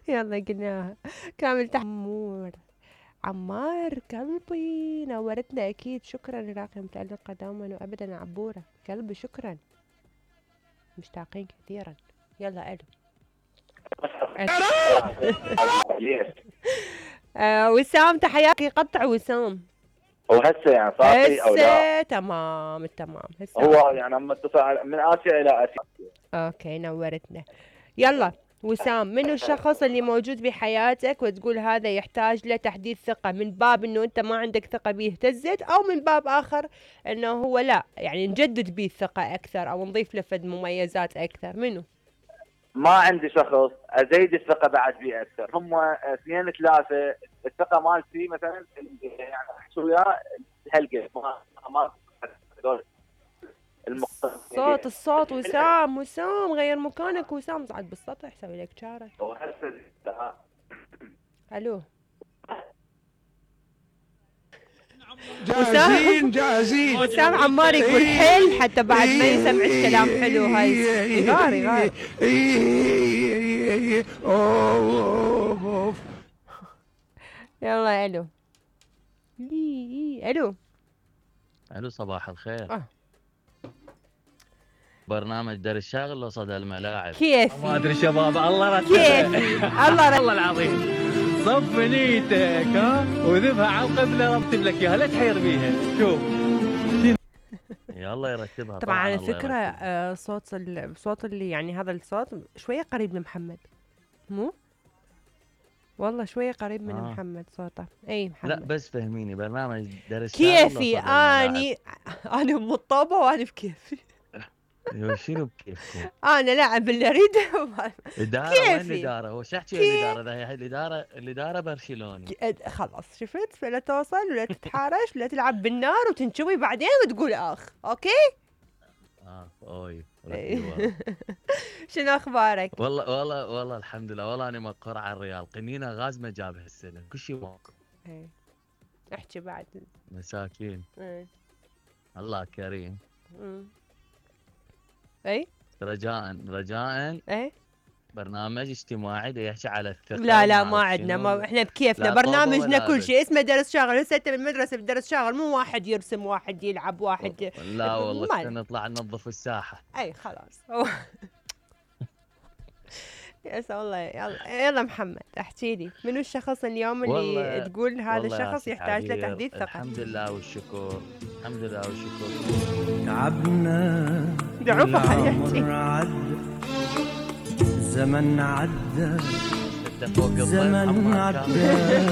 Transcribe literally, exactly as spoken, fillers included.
يلا قلناها كامل تحمور. عمار قلبي نورتنا أكيد، شكرا راقي متألقة دوما وأبدا عبورة قلبي، شكرا مشتاقين كثيرا. يلا ألو. آه وسام تحياتي، قطع وسام. وهسه يعني صافي او لا؟ هسه تمام التمام هسه. هو يعني عم اتصل من اسيا الى اسيا. اوكي نورتنا. يلا وسام، منو الشخص اللي موجود بحياتك وتقول هذا يحتاج له تحديث ثقة، من باب انه انت ما عندك ثقة بيه تزد، او من باب اخر انه هو لا يعني نجدد بيه الثقة اكثر او نضيف له فد مميزات اكثر، منو؟ ما عندي شخص ازيد الثقة بعد بيه اكثر، هم اثنين ثلاثة. الثقة مالتي مثلا يعني احكي وياه هالقد ما ما الصوت الصوت وسام وسام غير مكانك وسام، صعد بالسطح سوي لك شارة. الو جاهزين جاهزين. وسام عمار يقول حل حتى بعد ما يسمعك كلام حلو. هاي يغار يغار. يلا الو. الو الو صباح الخير. آه. برنامج دار الشاغل ولا صدى الملاعب؟ كيفي ما ادري شباب، الله رد كيفي الله الله العظيم. صف نيتك ها وذبها على القبله رتب لك اياها لا تحير بيها. شوف يلا يرتبها. طبعا على فكره آه صوت الصوت اللي يعني هذا الصوت شويه قريب من محمد، مو والله شويه قريب من آه. محمد صوته. اي محمد لا بس فهميني برنامج دار الشاغل كيفي اني انا مطوبه وانا بكيفي. شنو بكيفكم؟ انا لاعب اللي اريده. اداره وين الاداره؟ هو شو احكي الاداره؟ هي الاداره الاداره برشلوني. خلاص شفت، فلا توصل ولا تتحارش ولا تلعب بالنار وتنشوي بعدين وتقول اخ. اوكي اه اوي. شنو اخبارك؟ والله والله والله الحمد لله. والله انا مقر على الريال، قنينه غاز ما جاب هالسنه كل شيء موقف. ايه احكي بعد. مساكين. ايه الله كريم. امم اي رجاء رجاء ايه برنامج اجتماعي يحكي على الثقة. لا لا ما عندنا، ما احنا بكيفنا برنامجنا كل شيء اسمه درس شاغل. هسه انت بالمدرسه بدرس شاغل مو واحد يرسم واحد يلعب واحد. لا والله نطلع ننظف الساحه. اي خلاص. يا والله. يلا يلا محمد احكي لي، منو الشخص اليوم اللي تقول هذا الشخص يحتاج له تحديث ثقة؟ الحمد لله والشكر، الحمد لله والشكر. تعبنا دعوه حياتي. زمن عدى زمن عدى